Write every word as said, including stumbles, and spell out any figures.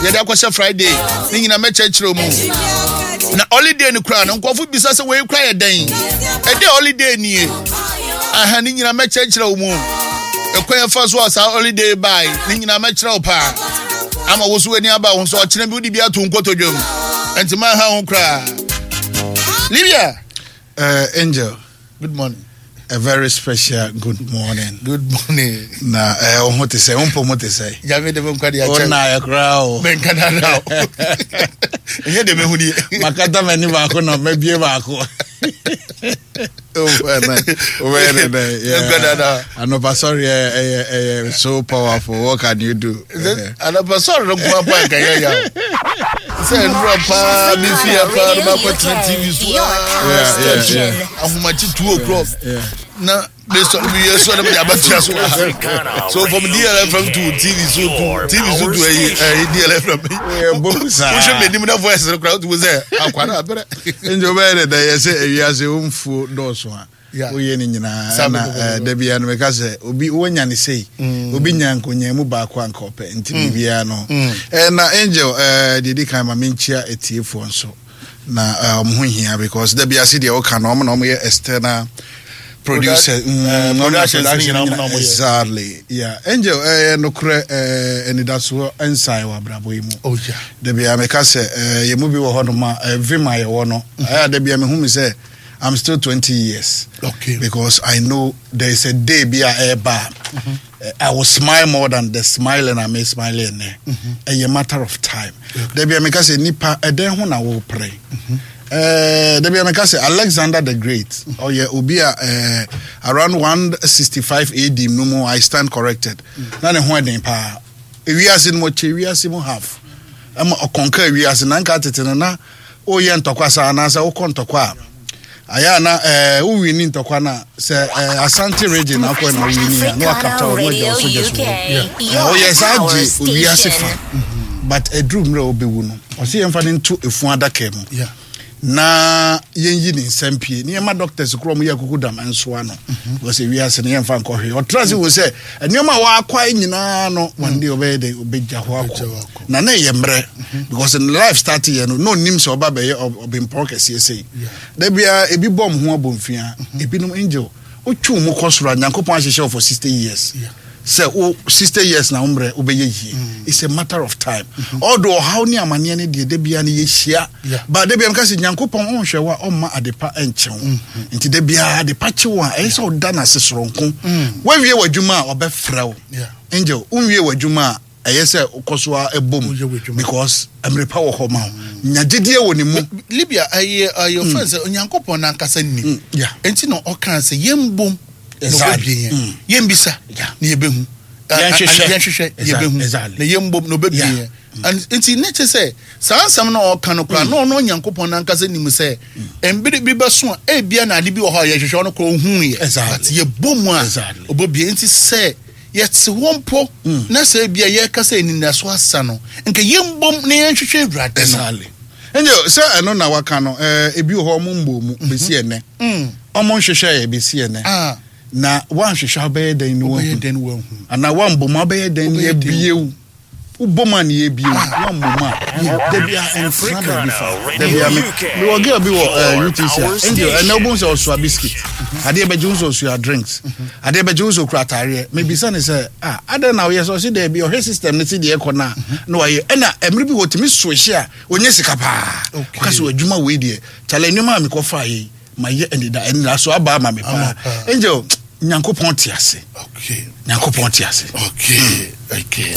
Yɛde akɔhyɛ Friday ne nyinaa mɛkyerɛkyerɛ mu. Na holiday no koraa no, nkurɔfo bisa sɛ wei koraa yɛ dɛn? Ɛdɛ holiday nie. Aha, ne nyinaa mɛkyerɛkyerɛ mu. Ɛkwan yɛfa so a saa holiday bae ne nyinaa mɛkyerɛ wo paa. Ama wo so w'ani aba wo so, ɔkyena bi wode bi ato nkotodwam. Ɛnti manha ho koraa. Libya. Uh, Angel. Good morning. A very special good morning. Good morning. Na eh wo ho te sɛ, wo mpɔ mu te sɛ? Nyame de me nkwa de akyɛ. Wo na ayɛ koraa o. Menka dada o. Ɛnyɛ de mehu nie. Makata m'ani baako na mabie baako. Wobɛyɛ ne dɛ. Menka dada. Anɔpa sɔre ɛyɛ ɛyɛ so powerful. What can you do? Anɔpa sɔre no nko apa nka yɛ ya. Sɛ nnura paa mi fi ya paa no makɔtena T V so. Yeah, yeah, yeah. Ahomakye two o'clock. Yeah. Na me sɔ me yɛ sɔ na me de abatua so wɔ ha. So from D L F M to T V so to T V so to ɛyi ɛyi D L F M. Yeah, boom saa. Wohwɛ m'anim na voice no koraa, wotu sɛ akwa na abrɛ. Nti wobɛyɛ ne dɛ, yɛ sɛ ewiase womfuo dɔɔso a Yeah. woyɛ no nyinaa. Saa ɛna bɛbɛ eh, bɛbɛ. Da bia no meka sɛ obi woanya ne sei, obi nya nkonyaa mu baako a nka ɔpɛ, nti biribiara no. Eh, na Angel, eh, deɛ di kan, ma menkyia atiefoɔ nso na eh, ɔmo ho hia because da bia se deɛ woka no, ɔmo na ɔmo yɛ external producer. Product- mm, eh, ɔmo na productions ne production nyinaa ɔmo na ɔmo yɛ. Exactly, yeah. Angel, eh, nokorɛ, eh, anidasoɔ nsae wɔ abrabɔ yi mu. Oh yeah. Da bia meka sɛ eh, yɛn mu bi wɔ hɔnom a eh, vim a yɛwɔ no ɛyɛ a, da bia mehu me sɛ I'm still twenty years Okay. because I know there is a day bi a ɛreba a eh, I will smile more than the smiling I'm smiling nnɛ. Ɛyɛ matter of time. Da bia meka sɛ nipa ɛdɛn ho na wɔrepere? Eh, da bia meka sɛ Alexander the Great, ɔyɛ obi a eh, around one sixty-five A D no mu, I stand corrected, na ne ho ɛden paa. Ewiase no mu, ɔkyɛ ewiase mu half, ɛma ɔkɔnka ewiase. Na nka tete no na woyɛ ntɔkwa saa anaasɛ wokɔ ntɔkwa a, ayɛ a na ɛɛ wowini ntɔkwa no a, sɛ ɛɛ Asante Region na akɔ na wowini a, na wakapta wɔ na wagya wo soldiers wɔ hɔ. Ɛɛ, ɔyɛ saa gye owiase fa, but ɛduru mmerɛ a wobɛwu no, ɔsɛ yɛmfa no nto efu adaka mu Yeah. na yɛnyi ne nsɛm pie ne yɛma doctors korɔ mo yɛ kuku dam nsoa no, because ewiase no yɛmfa nkɔ hwee. Ɔtra se hu sɛ nneɛma a wɔakwae nyinaa no, one day ɔbɛyɛ dɛ ɔbɛgya hɔ Ɔbɛgya hɔ akɔ. akɔ. Na na ɛyɛ mmerɛ because ne life start yɛ no, na ɔnim sɛ ɔba bɛyɛ ɔb- ɔbempɔn kɛseɛ sei. Da biara ebi bɔ mo ho abɔmfia, ebinom, Angel, wotwe mu kɔ soro a, Nyankopɔn ahyehyɛ wo for sixty years Yeah. sɛ wo sixty years na wo mmerɛ wobɛyɛ yie. It's a matter of time, although ɔhaw ne amanneɛ no deɛ, da biara no yɛhyia. Yeah. But da biara meka sɛ Nyankopɔn ɔnhwɛ wo a, ɔmma adepa nkyɛ wo, nti da biara adepa kye wo a, ɛyɛ sɛ ɔda no ase soronko. Woawie w'adwuma a, ɔbɛfrɛ wo. Yeah. Angel, wonwie w'adwuma a, ɛyɛ sɛ wokɔ so a ɛbom Woyɛ w'adwuma. because mmerɛ pa wɔ hɔ ma wo. Nya gyedie wɔ ne mu. Libya, ɛyɛ ɛyɛ ɔfɛn sɛ Onyankopɔn nankasa nim. Yeah. Nti na ɔka sɛ yɛmbom na Exactly. ɔbɛbie yɛn. Mm. Yɛmbisa Yeah. na yɛbɛhu. Yɛnhwehwɛ. Yɛnhwehwɛ, yɛbɛhu. Exactly. Na yɛmbom na ɔbɛbie Yeah. yɛn. And nti ne kyɛ sɛ saa nsɛm na ɔka no koraa na ɔno Onyankopɔn nankasa nim sɛ mbere bi bɛso a, ebia na ade bi wɔ hɔ a yɛhwehwɛ, ɔno koraa ohun yɛ. Exactly. But yɛbɔ mu a, Exactly. ɔbɛbie. Nti sɛ yɛte hɔ mpo na sɛ ebia yɛka sɛ anidaso asa no, nka yɛmbom na yɛnhwehwɛ Awurade no. Exactly. Angel, sɛ ɛno na waka no, ɛɛ ebi wɔ hɔ ɔmo mbɔ mu bɛsi ɛnɛ, Mm. ɔmo nhwehwɛ yɛ bɛsi ɛnɛ. Ah. Na woanhwehwɛ a, wobɛyɛ dɛn ne Wobɛyɛ wahu? dɛn wahu? Anaa woambɔ mu a, wobɛyɛ dɛn ne Wobɛyɛ dɛn? yɛbie wo? Wobɔ mu a ne yɛbie wo, woammɔ mu a, da bia ɛmfra baabi fa. Da bia me mewɔ girl bi wɔ eh, U T C a, Angel, ɛnɛ wobɛhu sɛ ɔsoa biscuit, adeɛ bɛgye wo sɛ ɔsoa drinks, adeɛ bɛgye wo sɛ ɔkura ataareɛ. Mebisa ne sɛ, ah, adɛn na woyɛ sɛ? Ɔse daabi, ɔhwɛ system no si deɛ ɛkɔ no a na wayɛ. Ɛna mmerɛ bi wɔtumi sohye a, ɔnyɛ sika paa. Okay. Ɔka sɛ adwuma wei deɛ, kyale, nneɛma a mekɔfaa yei mayɛ anida anida so aba ama me paa. Ama paa. Angel, Nyankopɔn te ase. Okay. Nyankopɔn te ase. Okay. Okay.